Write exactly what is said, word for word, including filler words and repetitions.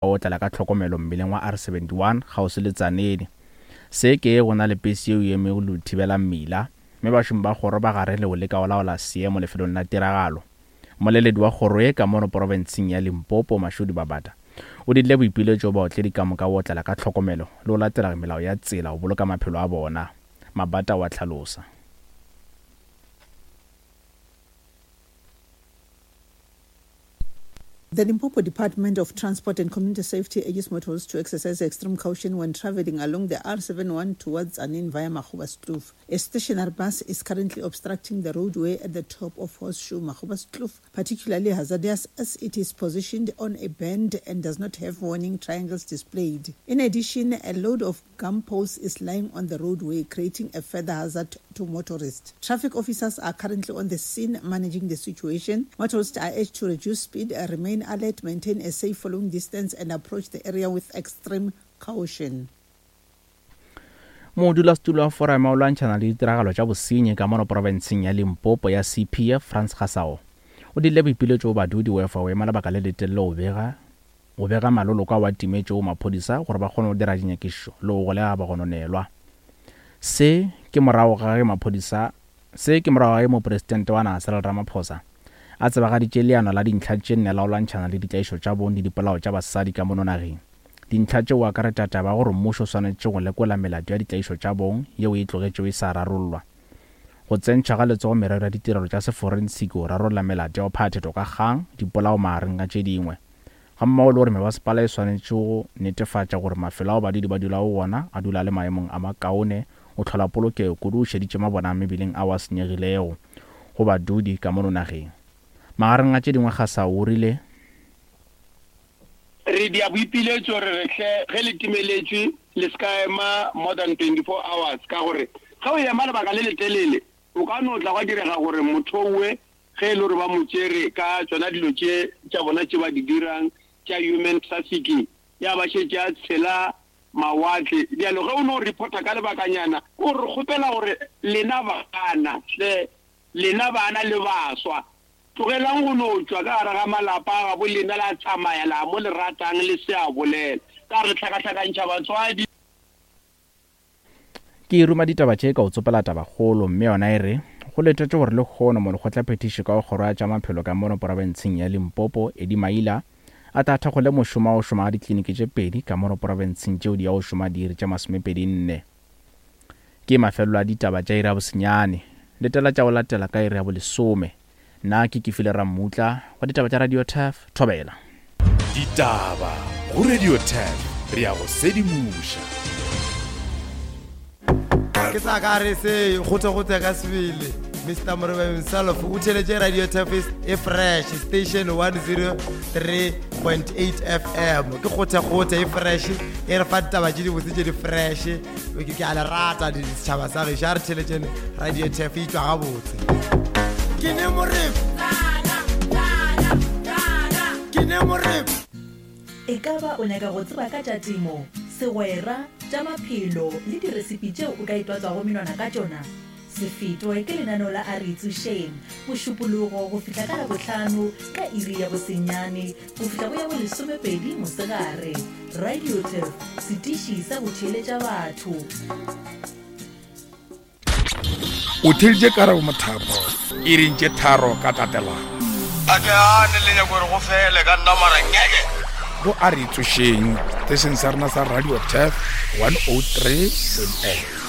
Otlela ka tlhokomelo mmileng wa R seventy one kgauswi le Tzaneen. Se ke go na le pese yeo e emego le go thibela mmila, mme bašomi ba kgoro ba gare le go leka go laola seemo lefelong la tiragalo. Mmoleledi wa kgoro ye ka mono profenseng ya Limpopo, Mashudu Babata, o dirile boipiletšo baotledi ka moka go otlela ka tlhokomelo le go latela melao ya tsela go boloka maphelo a bona. Mabata o a hlalosa. The Limpopo Department of Transport and Community Safety urges motorists to exercise extreme caution when traveling along the R seventy-one towards Tzaneen via Magoebaskloof. A stationary bus is currently obstructing the roadway at the top of Horseshoe Magoebaskloof, particularly hazardous as it is positioned on a bend and does not have warning triangles displayed. In addition, a load of gum posts is lying on the roadway, creating a further hazard to motorists. Traffic officers are currently on the scene managing the situation. Motorists are urged to reduce speed, remain alert, maintain a safe following distance, and approach the area with extreme caution. Modulasetulo wa foramo ya go lwantšhana le ditiragalo tša bosenyi ka mono profenseng ya Limpopo ya C P F, Frans Gasao, o dirile boipiletšo go badudi go efa go ema lebaka le letelele go bega go bega maloloko ao a timetšego maphodisa gore ba kgone go dira dinyakišišo le go golega bagononelwa. Se ke morago ga ge maphodisa se ke morago ga ge mopresidente wa naga Cyril Ramaphosa a tsebagaditše leano la dintlha tše nne la go lwantšhana le ditlaišo tša bong le dipolao tša basadi ka mono nageng. Dintlha tšeo akaretša taba ya gore mmušo o swanetše go lekola melato ya ditlaišo tša bong yeo e tlogetšego e sa rarollwa, go tsentšha ga letsogo merero ya ditirelo tša seforensiki go rarolla melato ya go phathetho ka kgang, dipolao magareng ga tše dingwe, gammogo le gore mebasepala e swanetše go netefatša gore mafelo ao badudi ba dulago go ona a dula le maemong a makaone go hlola polokego kudu o šeditše mabona a mebileng ao a senyegilego go badudi ka mono nageng. Magareng a tše dingwe Gasao o rile, Re dia boipiletšo re re hle ge le timeletšwe le se ka ema more than twenty-four hours, ka gore ge o ema lebaka le letelele o ka no tla gwa direga gore motho owe ge e le gore ba mo tšere ka tšona dilo tše tša bona tše ba di dirang tša human trafficking, ya ba šetše a tshela mawatle. Bjalo ge o no reporta ka lebakanyana, ko re kgopela gore lena bana hle, lena bana le baswa, tlogelang go no tšwa ka gare ga malapa a gabo lena la tsamaya la mo le ratang le se a bolela, ka re hlakahlakantšha batswadi. Ke ruma ditaba tše ka o tsopela tabakgolo, mme yona e re go letetšwe gore lehono molekgotlaphethiši ka go kgoro ya tša maphelo ka mono profenseng ya Limpopo, Eddie Maila, a tla thakgole mošomo wa go šoma ga dikliniki tše pedi ka mono profenseng tšeo di ya go šoma diiri tše masomepedi nne. Ke mafelelo a ditaba tša iri ya bosenyane. Letela tša go latela ka iri ya bolesome. Nna ke Kefile Rammutla wa ditaba tša Radio Turf, Thobela. Ditaba go Radio Turf, re ya go sedimoša. Ke sa ka re se gote-gote ka sebele. Mister Morebe himself o theletše Radio Turf e fresh station one zero three point eight F M. Ke gote-gote e fresh, e re fa ditaba tše dibotse tše di fresh. Ke ke a le rata setšhaba sa gešo, a re theletšeng Radio Turf e tšwa gabotse. Ke ne Morebe. Ke ne Morebe. E ka ba o nyaka go tseba ka tša temo, segwera, tša maphelo le diresipi tšeo o ka itwatswago menwana ka tšona? Se fetwe ke lenaneo la A Re Itsošeng, Mošupologo go fihla ka Labohlano ka iri ya bosenyane go fihla go ya bolesomepedi mosegare. Radio Turf, setiši sa go theeletša batho. O theeditše Karabo Mothapo iring tše tharo ka tatelano. A ke gane le nyako gore go fele ka nna mara ngeke. Go A Re Itsošeng, setešeng sa rena sa Radio Turf one oh three point eight.